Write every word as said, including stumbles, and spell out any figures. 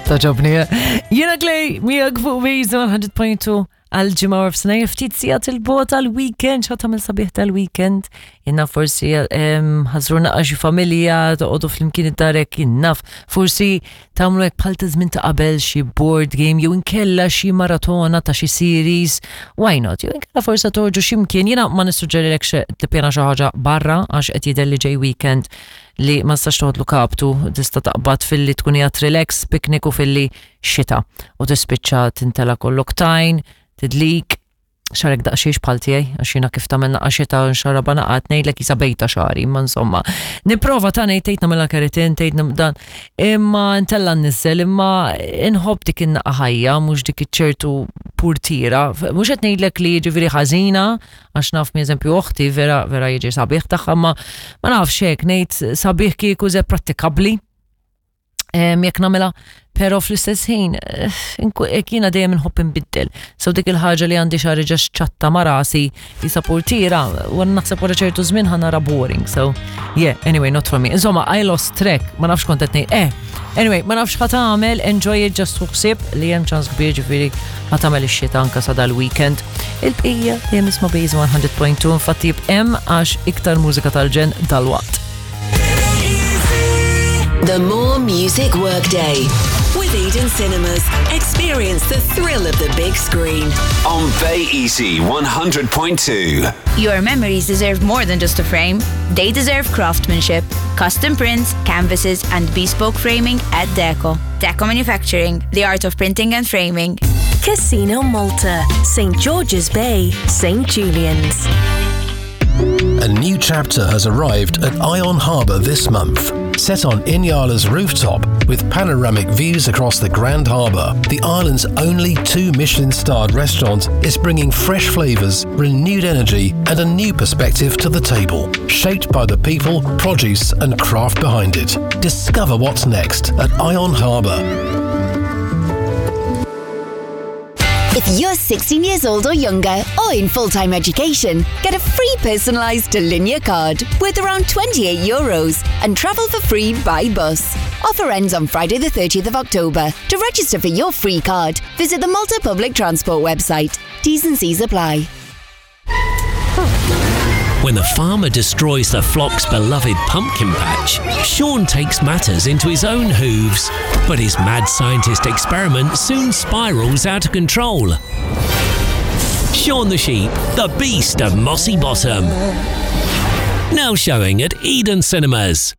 Togħġobni. Jiena Clay, miegħek fuq Waze one hundred point two għal ġimgħa u f'sena ftit sigħat 'il bogħod għal-weekend, xa tagħmel sabiħ tal-weekend. Jiena forsi ħażru naqra xi familja, toqgħodu flimkien id-darek, jien naf, forsi tagħmlu hekk bħal ta' żmien ta' qabel xi board game jew inkella xi maratona ta' xi series, why not? Jew inkella forsi toħorġu xi mkien, jiena ma nissuġġerilekx tippjana xi ħaġa barra għax qed jidher li ġej weekend li ma tistax toħodlu kaptu, tista' taqbad filli tkun qiegħed relax, picnic u filli xita u tispiċċa tintela kollok tajn, tidlik, xagħrek daqsxejn bħal tiegħi, għax jiena kif tagħmel naqra xita nxarraba naqgħad ngħidlek jisa bejta xagħri, imma insomma. Nipprova ta' ngħid tgħid nagħmilha keratin, tgħid dan, imma ntella nniżel, imma inħobb dik in-naqa ħajja, mhux dik iċ-ċertu purtira. Mhux qed ngħidlek li jiġifieri ħażina, għax naf mi eżempju oħti vera vera jiġi sabiħ tagħha, ma ma nafx hekk ngħid sabiħ kieku ze prattikabbli jekk nagħmilha, pero fl-istess ħin eh, jiena dejjem inħobb inbiddel. So dik il-ħaġa li għandi xagħri ġa ċatta ma' rasi jisa portira, u naħseb wara ċertu żmien ħa nara boring. So yeah, anyway, not for me. Insomma, I lost track, ma nafx kont qed ngħid. Eh, anyway, ma nafx ħa tagħmel, enjoy it, just ħsib li hemm ċans kbir ġifieri ħa tagħmel ix-xita anka sa dal-weekend. Il-bqija dejjem isma' Base one hundred point two, infatti hemm għax iktar mużika tal-ġenn dal-waqt. The More Music Workday. With Eden Cinemas. Experience the thrill of the big screen. On Bay Easy one hundred point two. Your memories deserve more than just a frame. They deserve craftsmanship, custom prints, canvases, and bespoke framing at Deco. Deco Manufacturing, the art of printing and framing. Casino Malta, Saint George's Bay, Saint Julian's. A new chapter has arrived at Ion Harbour this month. Set on Inyala's rooftop with panoramic views across the Grand Harbour, the island's only two Michelin starred restaurant is bringing fresh flavours, renewed energy, and a new perspective to the table, shaped by the people, produce, and craft behind it. Discover what's next at Ion Harbour. If you're sixteen years old or younger or in full-time education, get a free personalised Tallinja card worth around twenty-eight euros and travel for free by bus. Offer ends on Friday the thirtieth of October. To register for your free card, visit the Malta Public Transport website. T's and C's apply. When the farmer destroys the flock's beloved pumpkin patch, Sean takes matters into his own hooves. But his mad scientist experiment soon spirals out of control. Shaun the Sheep, the Beast of Mossy Bottom. Now showing at Eden Cinemas.